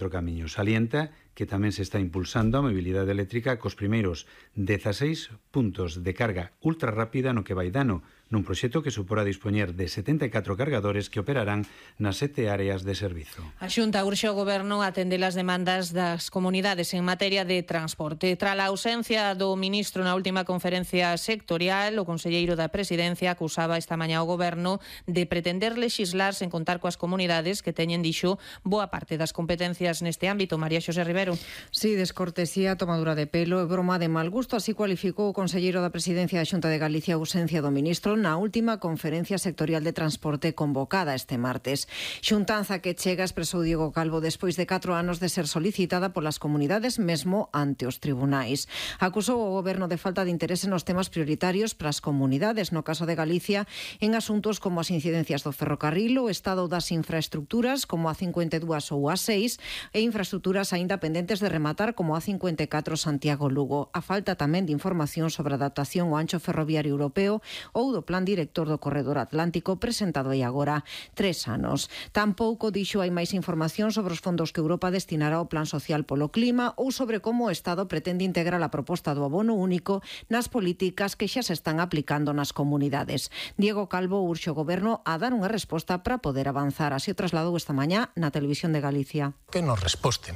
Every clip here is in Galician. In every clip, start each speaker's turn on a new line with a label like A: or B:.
A: Outro camiño salienta que tamén se está impulsando a mobilidade eléctrica cos primeiros 16 puntos de carga ultra rápida no que vai dano, nun proxecto que supora dispoñer de 74 cargadores que operarán nas 7 áreas de servizo.
B: A Xunta urxe ao Goberno a atender as demandas das comunidades en materia de transporte. Tras a ausencia do ministro na última conferencia sectorial, o conselleiro da Presidencia acusaba esta mañá ao Goberno de pretender lexislar sen contar coas comunidades que teñen, dixo, boa parte das competencias neste ámbito. María Xosé Rivero.
C: Sí, descortesía, tomadura de pelo e broma de mal gusto, así cualificou o conselleiro da Presidencia da Xunta de Galicia a ausencia do ministro na última conferencia sectorial de transporte convocada este martes. Xuntanza que chega, expresou Diego Calvo, despois de 4 anos de ser solicitada polas comunidades mesmo ante os tribunais. Acusou o Goberno de falta de interese nos temas prioritarios para as comunidades, no caso de Galicia, en asuntos como as incidencias do ferrocarril, o estado das infraestructuras como a 52 ou a 6 e infraestructuras aínda pendentes de rematar como a 54 Santiago-Lugo. A falta tamén de información sobre a adaptación ao ancho ferroviario europeo ou do Plan Director do Corredor Atlántico presentado hai agora 3 anos. Tampouco dixo hai máis información sobre os fondos que Europa destinará ao Plan Social polo Clima ou sobre como o Estado pretende integrar a proposta do abono único nas políticas que xa se están aplicando nas comunidades. Diego Calvo urxe o Goberno a dar unha resposta para poder avanzar. Así o trasladou esta mañá na Televisión de Galicia.
D: Que nos resposten.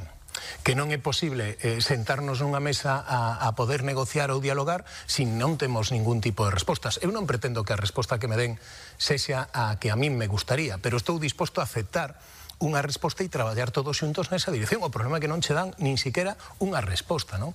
D: Que non é posible sentarnos nunha mesa a poder negociar ou dialogar se non temos ningún tipo de respostas. Eu non pretendo que a resposta que me den sexa a que a min me gustaría, pero estou disposto a aceptar unha resposta e traballar todos xuntos nesa dirección. O problema é que non che dan nin siquiera unha resposta, non?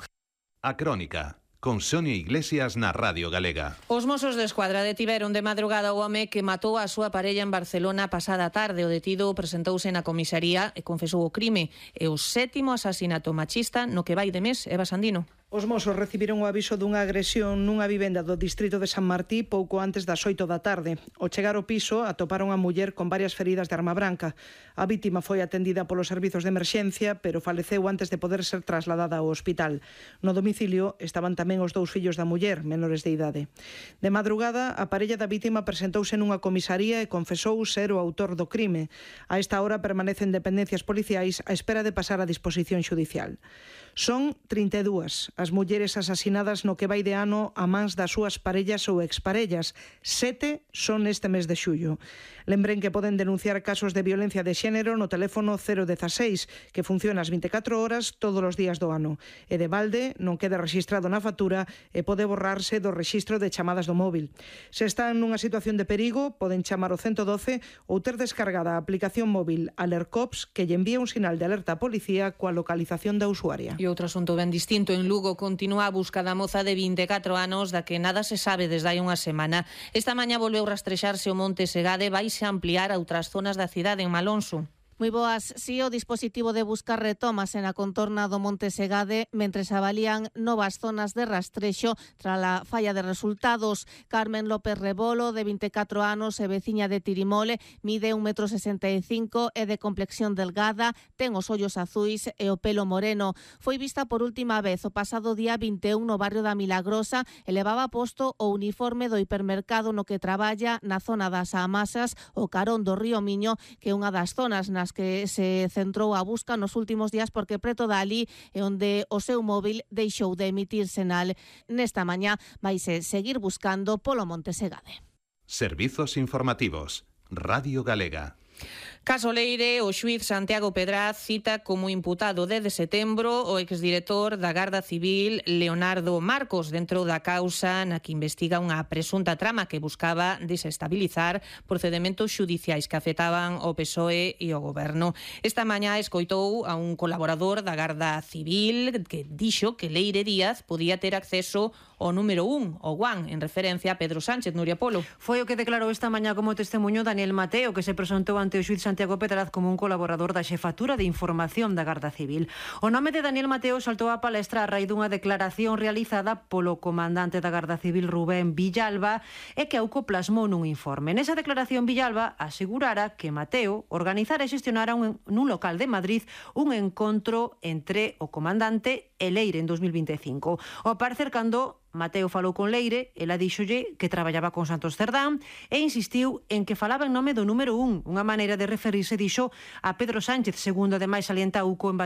E: A Crónica, con Sonia Iglesias na Radio Galega.
B: Os Mossos de Escuadra detiveron de madrugada o home que matou a súa parella en Barcelona pasada tarde. O detido presentouse na comisaría e confesou o crime. É o 7º asasinato machista no que vai de mes. Eva Sandino.
F: Os Mossos recibiron o aviso dunha agresión nunha vivenda do distrito de San Martí pouco antes das 8 da tarde. Ao chegar ao piso, atoparon a muller con varias feridas de arma branca. A vítima foi atendida polos servizos de emerxencia, pero faleceu antes de poder ser trasladada ao hospital. No domicilio estaban tamén os 2 fillos da muller, menores de idade. De madrugada, a parella da vítima presentouse nunha comisaría e confesou ser o autor do crime. A esta hora permanecen dependencias policiais á espera de pasar a disposición xudicial. Son 32 as mulleres asasinadas no que vai de ano a mans das súas parellas ou exparellas. 7 son este mes de xullo. Lembren que poden denunciar casos de violencia de xénero no teléfono 016, que funciona as 24 horas todos os días do ano. E de balde non queda rexistrado na factura e pode borrarse do rexistro de chamadas do móvil. Se están nunha situación de perigo, poden chamar o 112 ou ter descargada a aplicación móvil Alercops, que lle envía un sinal de alerta á policía coa localización da usuaria.
B: E outro asunto ben distinto, en Lugo continúa a busca da moza de 24 anos da que nada se sabe desde hai unha semana. Esta mañá volveu rastrexarse o Monte Segade, vaise ampliar a outras zonas da cidade en Malonso.
G: Moi boas, si o dispositivo de busca retómase na contorna do Monte Segade mentres avalían novas zonas de rastrexo tras a falla de resultados. Carmen López Rebolo, de 24 anos e veciña de Tirimole, mide 1,65 m, é de complexión delgada, ten os ollos azuis e o pelo moreno. Foi vista por última vez o pasado día 21 no barrio da Milagrosa e levaba posto o uniforme do hipermercado no que traballa na zona das Amasas, o carón do Río Miño, que é unha das zonas nas que se centrou a busca nos últimos días porque preto dali é onde o seu móvil deixou de emitir sinal. Nesta mañá vaise seguir buscando polo Monte Segade.
E: Servizos informativos. Radio Galega.
B: Caso Leire, o xuíz Santiago Pedraz cita como imputado desde setembro o exdirector da Garda Civil Leonardo Marcos dentro da causa na que investiga unha presunta trama que buscaba desestabilizar procedementos xudiciais que afectaban ao PSOE e ao Goberno. Esta mañá escoitou a un colaborador da Garda Civil que dixo que Leire Díaz podía ter acceso ao número 1, o Guan, en referencia a Pedro Sánchez. Nuria Polo.
C: Foi o que declarou esta mañá como testemunho Daniel Mateo, que se presentou ante o xuíz Santiago Pedraz como un colaborador da Xefatura de Información da Garda Civil. O nome de Daniel Mateo saltou á palestra a raíz dunha declaración realizada polo comandante da Garda Civil Rubén Villalba e que Auco plasmou nun informe. Nesa declaración Villalba asegurara que Mateo organizara e xestionara nun local de Madrid un encontro entre o comandante e Leire en 2025. Ao parecer, cando
H: Mateo falou con Leire, ela díxolle que traballaba con Santos Cerdán e insistiu en que falaba en nome do número 1, unha maneira de referirse, dixo, a Pedro Sánchez, segundo ademais salienta UCO en